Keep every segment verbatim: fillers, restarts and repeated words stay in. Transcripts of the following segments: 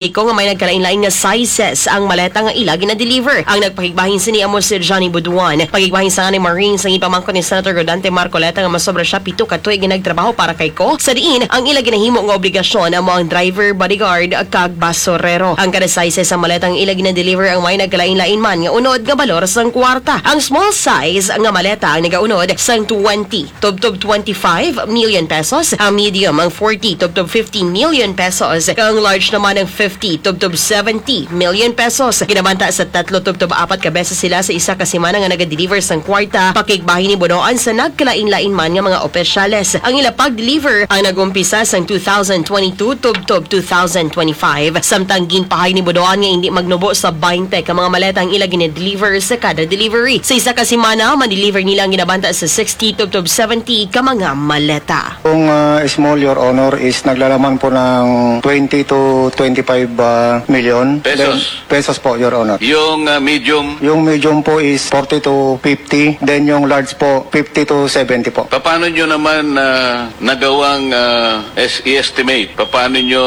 Iko nga may nagkalain-lain nga sizes ang maleta nga ila gina-deliver. Ang nagpakigbahin sini amo si Johnny Buduan. Pakigbahin sa anay Marines ang ipamangkot ni Senator Rodante Marcoleta nga masobra siya pito ka tuig nga nagtrabaho para kay Ko, sa diin ang ila ginahimo nga obligasyon amo ang driver, bodyguard, kag basurero. Ang kada sizes sa maleta nga ila gina-deliver ang may nagkalain-lain man nga unod nga balor sang kwarta. Ang small size nga maleta ang nagaunod sang twenty tubtob twenty-five million pesos, ang medium ang forty tubtob fifty million pesos, kag ang large naman ang fifty tubtob seventy million pesos. Ginabanta sa tatlo tubtob apat ka beses sila sa isa ka semana nga nagadeliver sang kwarta, pakigbahin ni Buduan sa nagkalain-lain man nga mga opisyales. Ang ila pag-deliver ang nag-umpisa sang two thousand twenty-two tubtob two thousand twenty-five, samtang ginpahayag ni Buduan nga hindi magnubo sa twenty ka mga maleta ang ila gina-deliver sa kada delivery. Sa isa ka semana, ma-deliver nila ang ginabanta sa sixty tubtob seventy ka mga maleta. Kung ah, small, Your Honor, is naglalaman po ng twenty to twenty-five ah, million. Pesos. Then, pesos po, Your Honor. Yung ah, medium? Yung medium po is forty to fifty, then yung large po, fifty to seventy po. Paano nyo naman ah, nagawang ah, es- i-estimate? Paano nyo,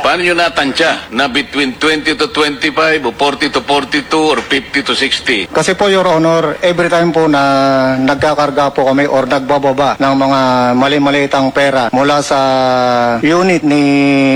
paano nyo natansya na between twenty to twenty-five o forty to forty-two or fifty to sixty? Kasi po, Your Honor, every time po na nagkakarga po kami or nagbababa ng mga mali-malitang pera mula sa unit ni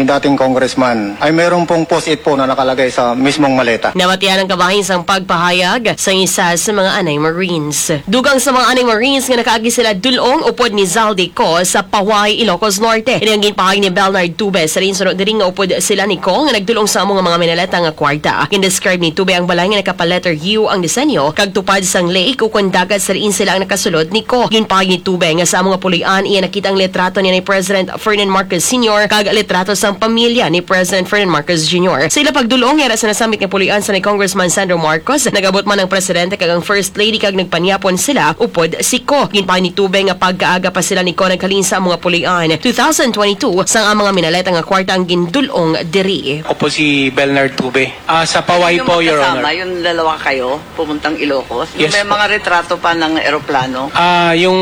dating congressman, ay meron pong post-it po na nakalagay sa mismong maleta. Nabatian ang kabahin sang pagpahayag sang isa sa mga anay Marines. Dugang sa mga anay Marines nga nakaagi sila dul-ong upod ni Zaldy Co sa Paway, Ilocos Norte. Ini ang ginpahayag ni Bernard Tube sa rin suno diri nga upod sila ni Co nga nagdul-ong sa amo nga mga minaleta nga kwarta. Gindescribe ni Tube ang balay nga nakapa-letter U ang disenyo kag tupad sang lake ukon dagat sa diin sila ang nakasulod ni Co. Ginpahayag ni Tube nga sa amo nga puloy-an iya nakita ang litrato ni President Ferdinand Marcos Senior kag litrato sang pamilya ni President Ferdinand Marcos Junior. Sa ila pagdul-ong, yara sa nasambit nga puloy-an sa ni Congressman Sandro Marcos, nag-abot man ang presidente kag ang first lady kag nagpanyapon sila upod si Co. Ginpahayag ni Tube nga pagkaaga pa sila ni Co naghalin sa amo nga puloy-an. Two thousand twenty-two, sang ang mga minaleta nga kwarta ang gindul-ong diri. Ako po si Bernard Tube. Ah, sa Paway Yung po, Your magkasama, Honor. Yung dalawa kayo, pumuntang Ilocos? Yes May po. Mga retrato pa ng eroplano? Ah, yung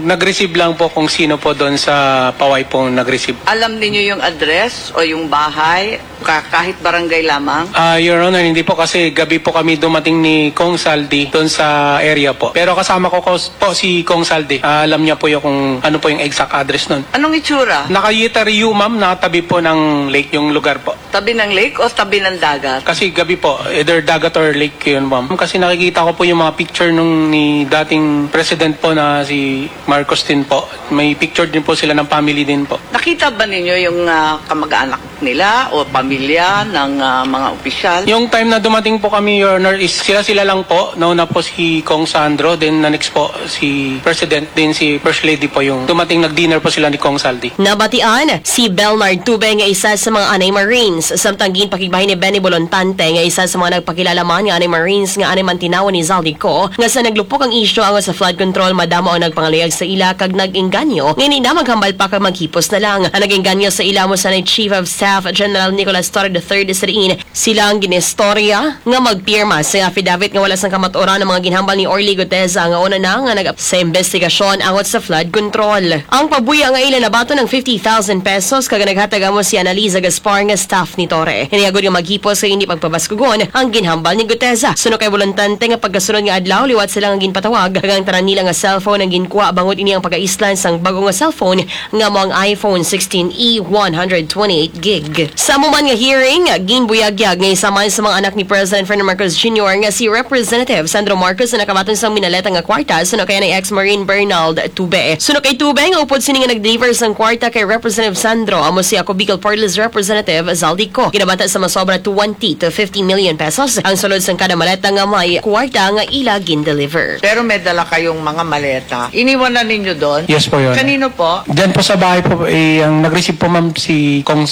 nag-receive lang po kung sino po doon sa Paway pong nag-receive. Alam ninyo yung address o yung bahay? Ka-, kahit barangay lamang? Ah, Your Honor, hindi po kasi gabi po kami dumating ni Kong Saldi doon sa area po. Pero kasama ko, ko po si Kong Saldi. Ah, alam niya po yung kung ano po yung exact address nun. Anong itsura? Nakayita Rio, ma'am, nakatabi po ng lake yung lugar po. Tabi ng lake o tabi ng dagat? Kasi gabi po, either dagat or lake yun, ma'am. Kasi nakikita ko po yung mga picture nung ni dating president po na si Marcos din po. May picture din po sila ng family din po. Nakita ba ninyo yung ah, kamag-anak nila o pamilya ng ah, mga opisyal? Yung time na dumating po kami, Your Honor, is sila-sila lang po. Nauna po si Kong Sandro, then na next po si President, then si First Lady po yung dumating, nag-dinner po sila ni Kong Saldi. Nabatian si Belnard Tube nga isa sa mga anay Marines, samtang ginpakigbahin ni Benny Bolontante nga isa sa mga nagpakilala man nga anay Marines nga anay man tinawon ni Zaldy Co nga sa naglupok ang isyu angot sa flood control, madamo ang nagpangaluyag sa ila kag nag-engganyo nga hindi na maghambal pa kag maghipos na lang. Ang nag-engganyo sa ila amo sanay Chief of Staff General Nicolas Torre the third sa diin sila ang ginistorya nga magpirma sa affidavit nga wala sang kamatuoran ang mga ginhambal ni Orly Guteza nga una na nga nag- sa investigasyon angot sa flood control. Ang pabuya nga ila nabaton ang fifty thousand pesos kag naghatag amo si Annalisa Gaspar nga staff ni Torre. Ini agud nga maghipos sa hindi pagpabaskugon ang ginhambal ni Guteza. Suno kay bolontante nga pagkasunod nga adlaw liwat sila nga ginpatawag kag ang tanan nila nga cellphone ang ginkuha bangod ini ang pagaislan sang bag-o nga cellphone nga mo ang iPhone sixteen E one hundred twenty-eight gig. Sa amo man nga hearing, ginbuyagyag nga isa man sa mga anak ni President Ferdinand Marcos Junior nga si Representative Sandro Marcos na nakabaton sang minaleta nga kwarta suno kay anay ex-Marine Bernald Tube. Suno kay Tube nga upod sini nga nag-deliver sang kwarta kay Representative Sandro amo si Ako Bicol Party List Representative Zaldy Co. Ginabata sa masobra twenty to fifty million pesos ang sulod sang kada maleta nga may kwarta nga ila gin-deliver. Pero may dala kayong mga maleta. Iniwan na ninyo doon? Yes po, Your Honor. Kanino po? Diyan po sa bahay po, eh, ang nag-receive po, ma'am, si Kong,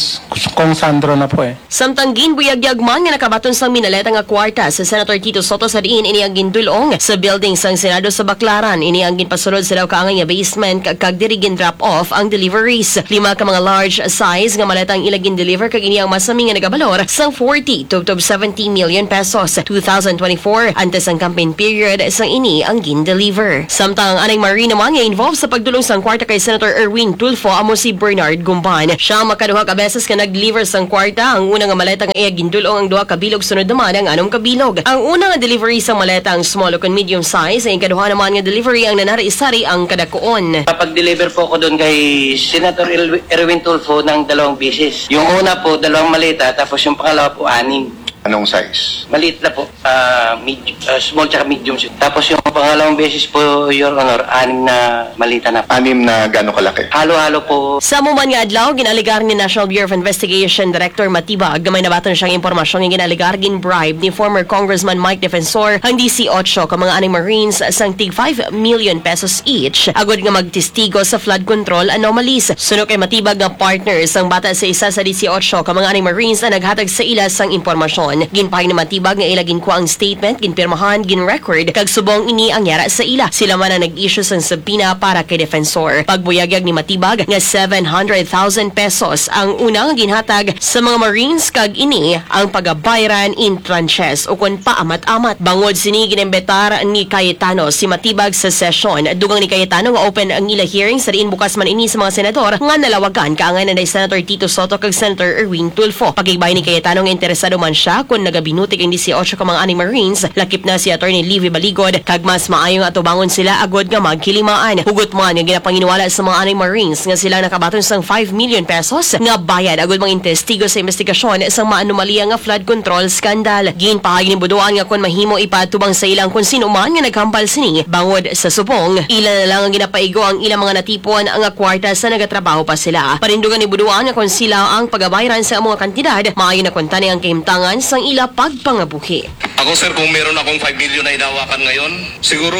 Kong Sandro na po, eh. Samtang ginbuyagyag man nga nakabaton sang minaleta nga kwarta sa Senator Tito Soto sa diin ini ang gindul-ong sa building sang Senado sa Baclaran. Ini ang ginpasulod sa daw kaangay nga basement kag, kag diri gin-drop off ang deliveries. Lima ka mga large size nga maleta ang ila gin-deliver kag ini ang masami nga nagabalor sang forty to, to seventy million pesos. Two thousand twenty-four, antes ang campaign period, sang ini ang gin-deliver. Samtang ang anay Marine naman nga involved sa pagdul-ong sang kwarta kay Senator Erwin Tulfo amo si Bernard Gumban. Siya ang makaduha ka beses nga Nag-deliver sang kwarta ang una nga maleta nga iya gindul-ong ang duha ka bilog, sunod naman ang anom ka bilog. Ang una nga delivery sang maleta ang small o kon medium size, ang ikaduha naman nga delivery ang nanari-sari ang kadakuon. Kapag-deliver po ako doon kay Senator El- Erwin Tulfo ng dalawang beses. Yung una po, dalawang maleta, tapos yung pangalawa po, anim. Anong size? Maliit na po. Ah, med- ah, small tsaka medium siya. Tapos yung pangalawang beses po, Your Honor, anim na malita na. Anim na gaano kalaki? Halo-halo po. Sa amo man nga adlaw, gin-alegar ni National Bureau of Investigation Director Matibag nga may nabaton siyang impormasyon nga gin-alegar gin-bribe ni former Congressman Mike Defensor ang disiotso ka mga anay Marines sang tig five million pesos each agud nga magtestigo sa flood control anomalies. Suno kay Matibag nga partner sang bata sa isa sa disiotso ka mga anay Marines ang naghatag sa ila sang impormasyon. Ginpahayag ni Matibag nga ila ginkuha ang statement, ginpirmahan, ginrecord, kag subong ini ang yara sa ila. Sila man ang nag-issue sang subpoena para kay Defensor. Pagbuyagyag ni Matibag nga seven hundred thousand pesos ang una nga ginhatag sa mga Marines, kag ini ang pagabayran in tranches ukon paamat-amat. Bangod sini, ginimbitar ni Cayetano si Matibag sa sesyon. Dugang ni Cayetano nga open ang ila hearing, sa diin bukas man ini sa mga senador nga nalawagan, kaangay na ni Senator Tito Soto kag Senator Erwin Tulfo. Pakigbahin ni Cayetano nga interesado man siya kon nagabinutig ang disiotso ka mga anay Marines, lakip na si Attorney Livy Baligod, kag mas maayo nga atubangon sila agud nga magkilimaan. Hugot man nga ginapanginwala sa mga anay Marines nga sila nakabaton sang five million pesos nga bayad agud manginvestigo sa investigasyon sang maanomalya nga flood control scandal. Ginpahayag ni Buduan nga kon mahimo, ipaatubang sa ila ang kon sino man nga naghambal sini bangod sa subong. Ila na lang ang ginapaigo ang ilang mga natipon nga kwarta sa nagatrabaho pa sila. Panindugan ni Buduan nga kon sila ang pagabayran sa amo nga kantidad, maayo na kuntani ang kahimtangan sang ila pagpangabuhi. Ako, sir, kung meron akong five million na hinawakan ngayon, siguro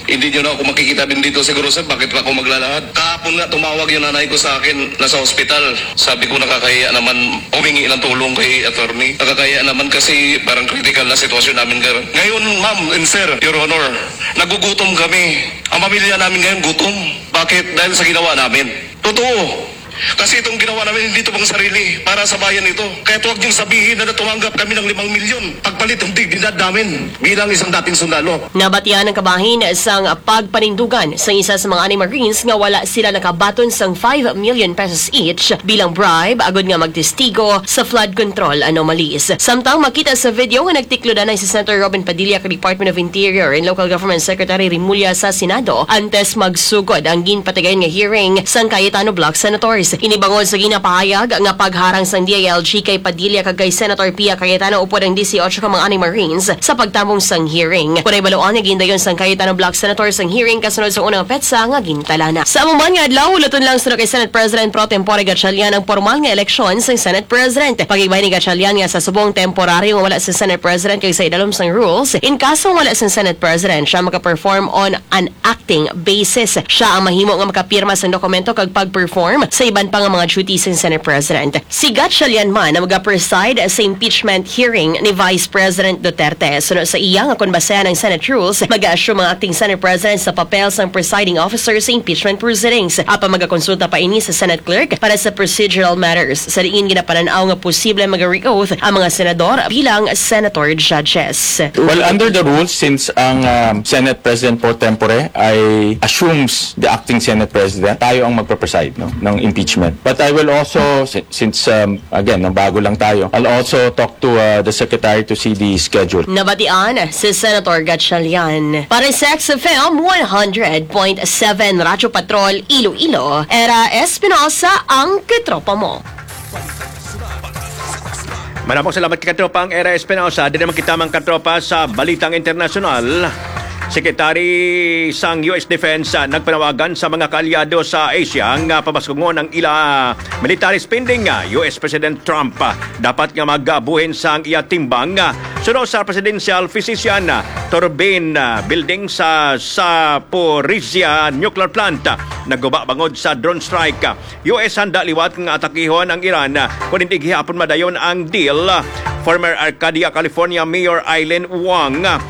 hindi nyo na ako makikita din dito siguro, sir. Bakit pa ako maglalahad? Kahapon nga, tumawag yung nanay ko sa akin, nasa hospital. Sabi ko, "Nakakahiya naman humingi ng tulong kay attorney. Nakakahiya naman kasi parang critical na sitwasyon namin, sir." Ngayon, ma'am and sir, Your Honor, nagugutom kami. Ang pamilya namin ngayon gutom. Bakit? Dahil sa ginawa namin. Totoo. Kasi itong ginawa namin, hindi ito pang sarili. Para sa bayan ito. Kaya huwag niyong sabihin na tumanggap kami ng limang milyon pagpalit ng dignidad namin bilang isang dating sundalo. Nabatian ang kabahin sang pagpanindugan sang isa sa mga anay Marines nga wala sila nakabaton sang five million pesos each bilang bribe agud nga magtestigo sa flood control anomalies. Samtang makita sa video nga nagtiklodanay si Senator Robin Padilla kag Department of Interior and Local Government Secretary Remulla sa Senado antes magsugod ang ginpatigayon nga hearing sang Cayetano Bloc Senators. Ini bangod sa ginapahayag nga pagharang sang D I L G kay Padilla kag kay Senator Pia Cayetano upod ang disiotso ka mga anay Marines sa pagtambong sang hearing. Kon nahibaloan nga gindayon sang Cayetano Bloc Senators ang hearing kasunod sa unang petsa nga gintalana. Sa amo man nga adlaw, hulaton lang suno kay Senate President Pro Tempore Gatchalian ang pormal nga eleksyon sang Senate President. Pakigbahin ni Gatchalian nga sa subong temporaryo nga wala sa Senate President kag sa idalom sang rules, in kaso wala sa Senate President, siya maka-perform on an acting basis. Siya ang mahimo nga makapirma sang dokumento kag pag-perform sa iban pa nga mga duties sang Senate President. Si Gatchalian man ang maga-preside sa impeachment hearing ni Vice President Duterte. Suno sa iya nga kon basehan ang Senate rules, mag-assume ang acting Senate President sa papel sang presiding officer sa impeachment proceedings. Apan magakonsulta pa ini sa Senate Clerk para sa procedural matters, sa diin ginapanan-aw nga posible mag-re-oath ang mga senador bilang senator judges. Well, under the rules, since ang, um, Senate President pro tempore ay assumes the acting Senate President, tayo ang magpapreside, no, ng impeachment. But I will also, si- since, um, again, no, bago lang tayo, I'll also talk to, uh, the Secretary to see the schedule. Nabatian si Senator Gatchalian. Para sa X F M one hundred point seven Radyo Patrol Iloilo, Era Espinosa ang katropa mo. Maramong salamat kay katropang Era Espinosa. Dili naman kita, mga katropa, sa balitang internasyonal. Secretary sang U S Defense, ah, nagpanawagan sa mga kaalyado sa Asia nga pabaskungon ang ila military spending. Ah, U S President Trump, ah, dapat nga magabuhin sang iya timbang, ah, suno sa presidential physician, ah, Turbine, ah, building sa Zaporizhia nuclear plant, ah, naguba bangod sa drone strike. Ah, U S handa liwat nga atakihon ang Iran, ah, kon hindi gihapon madayon ang deal. Former Arcadia, California Mayor Aileen Wong, ah,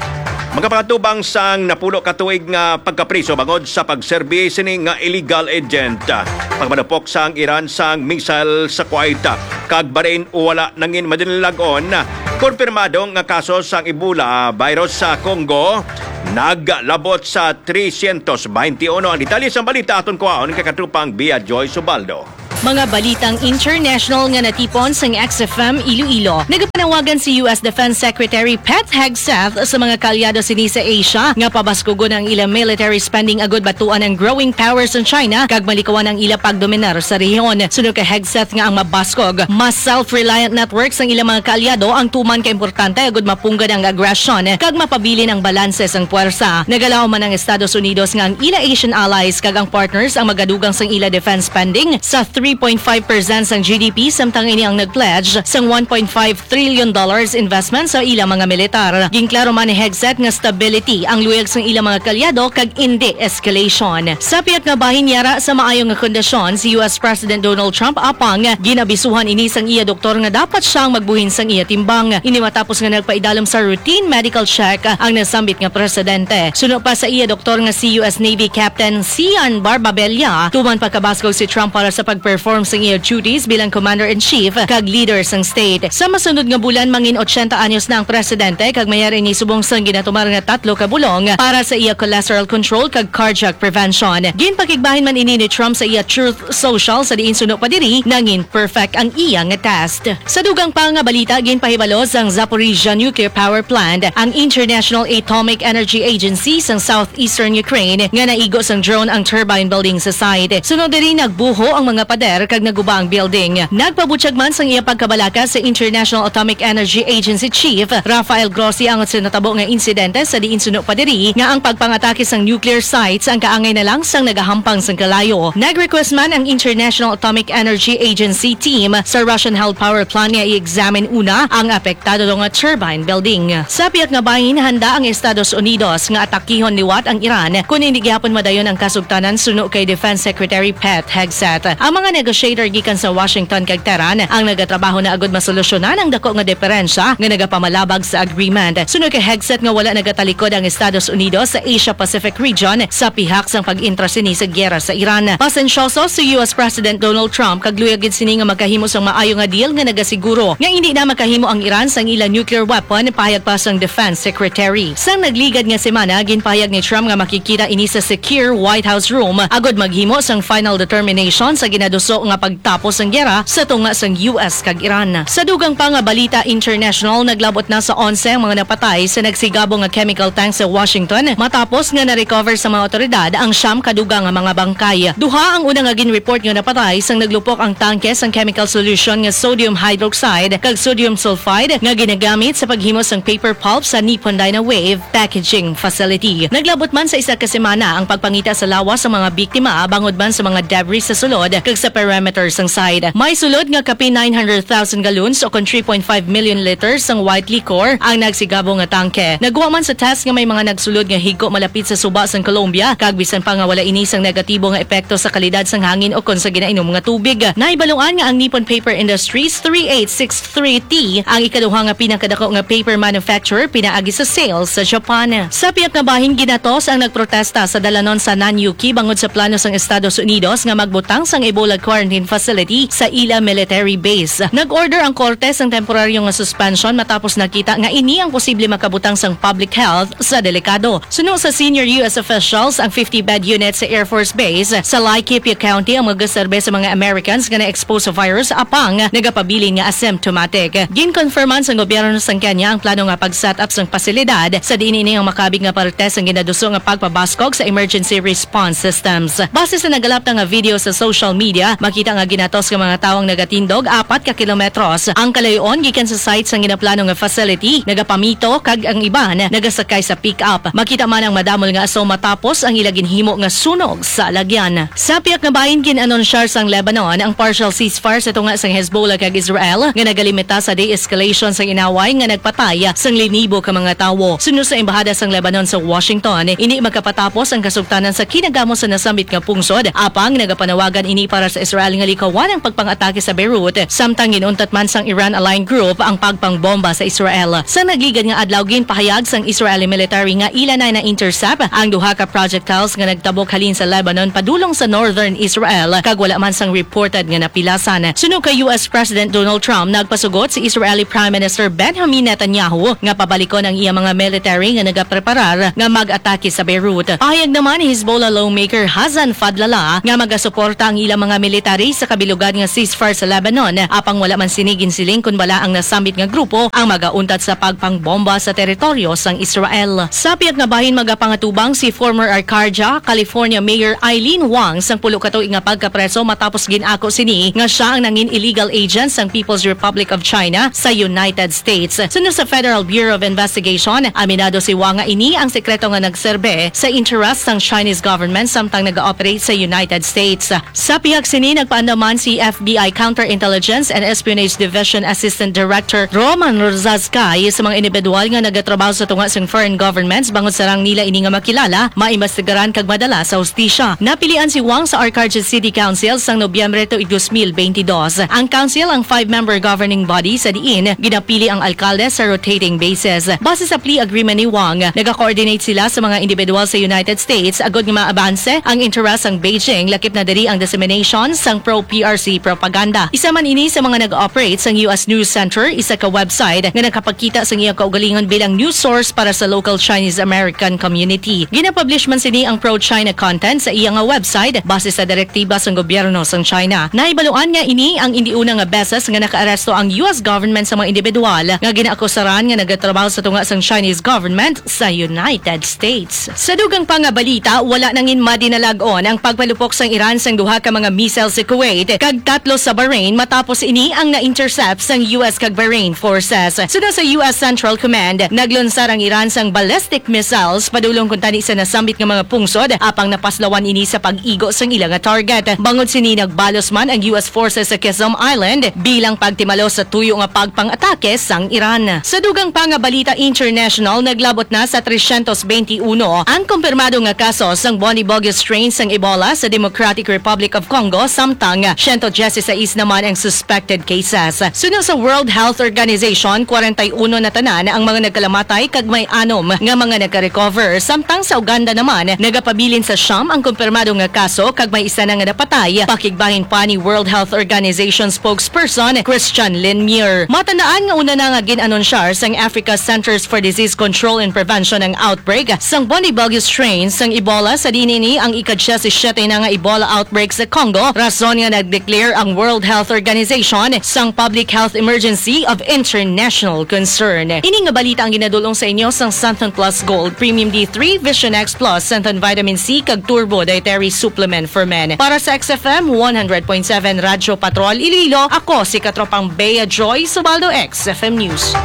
magapangatubang sang napulo ka tuig nga pagkapriso bangod sa pagserbi sini nga illegal agent. Ah, pagmadupok sang Iran sang missile sa Kuwait, ah, kag Bahrain, wala nangin madaling lag-on, ah, konfirmado nga kaso sang Ebola virus sa Congo naglabot sa trescientos veintiuno. Ang detalye sang balita aton kuhaon kay katrupang Bia Joy Subaldo. Mga balitang international nga natipon sang X F M Iloilo. Nagapanawagan si U S Defense Secretary Pete Hegseth sa mga kaalyado sini sa Asia nga pabaskugon ang ila military spending agud batuan ang growing powers sang China kag malikawan ang ila pagdominar sa rehiyon. Suno kay Hegseth nga ang mabaskog, mas self-reliant networks sang ila mga kaalyado ang tuman ka importante agud mapunggad ang agresyon kag mapabilin ang balanse sang puwersa. Nagalaom man ang Estados Unidos nga ang ila Asian allies kag ang partners ang magadugang sang ila defense spending sa three point five percent sang G D P, samtang ini ang nag-pledge sang one point five trillion dollars investment sa ila mga militar. Ginklaro man ni Hegseth nga stability ang luyag sang ila mga kaalyado kag indi escalation. Sa pihak nga bahin, yara sa maayo nga kondisyon si U S President Donald Trump, apang ginabisuhan ini sang iya doktor nga dapat siya ang magbuhin sang iya timbang. Ini matapos nga nagpaidalom sa routine medical check ang nasambit nga presidente. Suno pa sa iya doktor nga si U S Navy Captain Sian Barbabella, tuman pagkabaskog si Trump para sa pag-perform sang iya duties bilang commander-in-chief kag leader sang state. Sa masunod nga bulan, mangin ochenta anyos na ang presidente kag mayari ni subong sang ginatumar nga tatlo ka bulong para sa iya cholesterol control kag cardiac prevention. Ginpakigbahin man ini ni Trump sa iya Truth Social, sa diin suno pa diri nangin perfect ang iya nga test. Sa dugang pa nga balita, ginpahibalo sang Zaporizhia Nuclear Power Plant ang International Atomic Energy Agency sang Southeastern Ukraine nga naigo sang drone ang turbine building sa site. Sunod diri, nagbuho ang mga pader kag naguba ang building. Nagpabutyag man sang iya pagkabalaka sa International Atomic Energy Agency Chief Rafael Grossi ang sa natabo nga insidente, sa diin suno pa diri nga ang pagpangatake sang nuclear sites ang kaangay na lang sang nagahampang sang kalayo. Nag-request man ang International Atomic Energy Agency team sa Russian-held power plant nga i-examine una ang apektado nga turbine building. Sa pihak nga bahin, handa ang Estados Unidos nga atakihon liwat ang Iran kon indi gihapon madayon ang kasugtanan, suno kay Defense Secretary Pete Hegseth. Ang mga negotiator gikan sa Washington kag Tehran ang nagatrabaho na agud masolusyonan ang dako nga diferensya nga nagapamalabag sa agreement. Suno kay Hegseth nga wala nagatalikod ang Estados Unidos sa Asia-Pacific region sa pihak sang pag-intra sini sa giyera sa Iran. Pasensyoso si U S President Donald Trump kag luyag gid sini nga magkahimo sang maayo nga deal nga nagasiguro nga indi na makahimo ang Iran sang ila nuclear weapon, pahayag pa sang Defense Secretary. Sang nagligad nga semana, ginpahayag ni Trump nga makikita ini sa secure White House room agud maghimo sang final determination sa ginaduso nga pagtapos sang giyera sa tunga sang U S kag Iran. Sa dugang pa nga balita international, naglabot na sa onse ang mga napatay sa nagsigabo nga chemical tank sa Washington matapos nga na-recover sa mga otoridad ang siyam ka dugang nga mga bangkay. Duha ang una nga gin-report nga napatay sang naglupok ang tangke sang chemical solution nga sodium hydroxide kag sodium sulfide nga ginagamit sa paghimo sang paper pulp sa Nippon Dynawave packaging facility. Naglabot man sa isa ka semana ang pagpangita sa lawas sa mga biktima bangod man sa mga debris sa sulod kag sa perimeter sang site. May sulod nga kapin nine hundred thousand gallons o kon three point five million liters sang white liquor ang nagsigabo nga tangke. Nagwa man sa test nga may mga nagsulod nga higko malapit sa suba sang Colombia, kag bisan pa nga wala ini sang negatibo nga epekto sa kalidad sang hangin o kon sa ginainom nga tubig. Nahibaluan nga ang Nippon Paper Industries three eight six three T ang ikaduha nga pinakadako nga paper manufacturer pinaagi sa sales sa Japan. Sa pihak nga bahin, ginatos ang nagprotesta sa dalanon sa Nanyuki bangod sa plano sang Estados Unidos nga magbutang sang Ebola quarantine facility sa ila military base. Nag-order ang korte sang temporaryo nga suspension matapos nakita nga ini ang posible makabutang sang public health sa delikado. Suno sa senior U S officials, ang fifty bed unit sa Air Force Base sa Laikipia County ang magaserbe sa mga Americans nga na-expose sa virus apang nagapabilin nga asymptomatic. Ginkonfirman sa gobyerno sang Kenya ang plano nga pag-set up sang pasilidad sa diin ini ang makabig nga parte sang ginaduso nga pagpabaskog sa emergency response systems. Base sa nagalapta nga video sa social media, makita nga ginatos nga mga tawo ang nagatindog apat ka kilometros ang kalayo-on gikan sa site sang ginaplano nga facility, nagapamito, kag ang iban nagasakay sa pick-up. Makita man ang madamol nga aso matapos ang ila ginhimo nga sunog sa alagyan. Sa pihak nga bahin, gin-anunsyar sang Lebanon ang partial ceasefire sa tunga sang Hezbollah kag Israel nga nagalimita sa de-escalation sang inaway nga nagpatay sang linibo ka mga tawo. Suno sa Embahada sang Lebanon sa Washington, indi magkapatapos ang kasugtanan sa kinagamo sa nasambit nga pungsod, apang nagapanawagan ini para sa Israel nga likawan ang pagpang-atake sa Beirut, samtang ginuntat man sang Iran-aligned group ang pagpangbomba sa Israel. Sa nagligad nga adlaw, ginpahayag sang Israeli military nga ila na na-intercept ang duha ka projectiles nga nagtabok halin sa Lebanon padulong sa northern Israel, kag wala man sang reported nga napilasan. Suno kay U S President Donald Trump, nagpasugot si Israeli Prime Minister Benjamin Netanyahu nga pabalikon ang iya mga military nga nagapreparar nga mag-atake sa Beirut. Pahayag naman ni Hezbollah lawmaker Hassan Fadlallah nga magasuporta ang ilang mga military sa kabilugan nga ceasefire sa Lebanon, apang wala man sini ginsiling kon bala ang nasambit nga grupo ang magauntat sa pagpangbomba sa teritoryo sang Israel. Sa pihak nga bahin, magapangatubang si former Arcadia, California Mayor Aileen Wang sang pulo ka tuig nga pagkapreso matapos gin-ako sini nga siya ang nangin illegal agent sang People's Republic of China sa United States. Suno sa Federal Bureau of Investigation, aminado si Wang nga ini ang sekreto nga nagserbe sa interest sang Chinese government samtang nag-ooperate sa United States. Sa pihak sini, nagpaandam man si F B I Counterintelligence and Espionage Division Assistant Director Roman Rosas Kay sa mga individual nga nagatrabaho sa tunga sang foreign governments bangod sarang nila ini nga makilala, maimbestigaran kag madala sa hustisya. Napilian si Wang sa Arcadia City Council sang Nobyembre tuig dos mil benti dos. Ang council ang five-member governing body sa diin ginapili ang alkalde sa rotating basis. Base sa plea agreement ni Wang, nagakoordinate sila sa mga individual sa United States agod nga maabanse ang interes sang Beijing, lakip na diri ang dissemination sang pro-P R C propaganda. Isa man ini sa mga nag-operate sang U S News Center, isa ka website nga nakapagkita sang iyang kaugalingon bilang news source para sa local Chinese American community. Ginapublish man sini ang pro-China content sa iya nga website base sa direktiba sang gobyerno sang China. Nahibaluan nga ini ang indi una nga beses nga nakaaresto ang U S government sa mga individual nga ginaakusaran nga nagatrabaho sa tunga sang Chinese government sa United States. Sa dugang pa nga balita, wala nangin madinalag-on ang pagpalupok sang Iran sang duha ka mga missile sa Kuwait kag tatlo sa Bahrain matapos ini ang na-intercept sang U S kag Bahrain forces. Suno sa U S Central Command, naglunsar ang Iran sang ballistic missiles padulong kuntani sa nasambit nga mga pungsod, apang napaslawan ini sa pag-igo sang ila nga target. Bangod sini, nagbalos man ang U S forces sa Qeshm Island bilang pagtimalo sa tuyo nga pagpang-atake sang Iran. Sa dugang pa nga balita international, naglabot na sa tresyentos benti uno ang kumpirmado nga kaso sang Bundibugyo strain sang Ebola sa Democratic Republic of Congo, samtang siyento diyesisais naman ang suspected cases. Suno sa World Health Organization, kwarenta y uno na tanan ang mga nagkalamatay kag may anom nga mga nagka-recover. Samtang sa Uganda naman, nagapabilin sa siyam ang kumpirmado nga kaso kag may isa na nga napatay, pakigbahin pa ni World Health Organization spokesperson Christian Lindmere. Matandaan nga una na nga gin-anunsyar sang Africa Centers for Disease Control and Prevention ang outbreak sang Bundibugyo strain sang Ebola, sa diin ini ang ika-diyesisiyete na nga Ebola outbreak sa Congo, rason nga nag-declare ang World Health Organization sang public health emergency of international concern. Ini nga balita ang ginadul-ong sa inyo sang Santon Plus Gold Premium D three, Vision X Plus, Santon Vitamin C, kag Turbo Dietary Supplement for Men. Para sa X F M one hundred point seven Radyo Patrol Iloilo, ako si Katropang Bea Joy Subaldo, X F M News.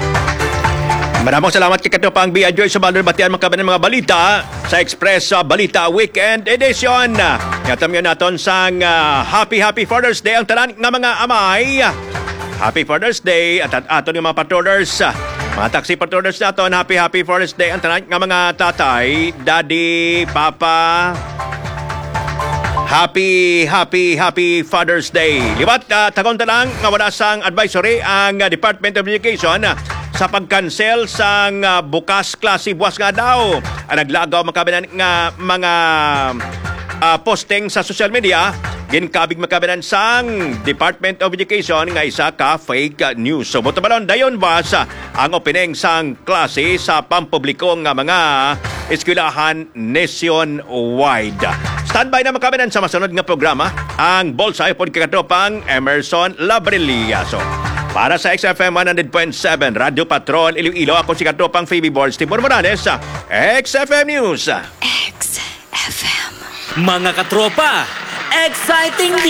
Maraming salamat kay Katropang Bea Joy Subaldo. Batian man kami ng mga balita sa Express, uh, Balita Weekend Edition. Yatam yun naton sang, uh, happy, happy Father's Day ang tanan nga mga amay. Happy Father's Day at, at aton nga mga patrollers, uh, mga taxi patrollers naton. Happy, happy Father's Day ang tanan nga mga tatay, daddy, papa. Happy, happy, happy Father's Day. Liwat, uh, tagon ta lang nga wala sang advisory ang, uh, Department of Education, uh, sa pag-cancel sang, uh, bukas klase buwas nga adlaw. Ang naglagaw man kami nga mga, ah, posting sa social media, ginkabig man kami sang Department of Education nga isa ka fake news. So, buto balon, dayon ba sa ang opening sang klase sa pampubliko nga mga eskwelahan nationwide? Standby na man kami sa masunod nga programa, ang Bulsa upod kay Katropang Emerson Labrilliaso. Para sa X F M one hundred point seven Radyo Patrol Iloilo, ako si Katropang Phoebe Borge Timor Morales, X F M News. X F M. Mga katropa, exciting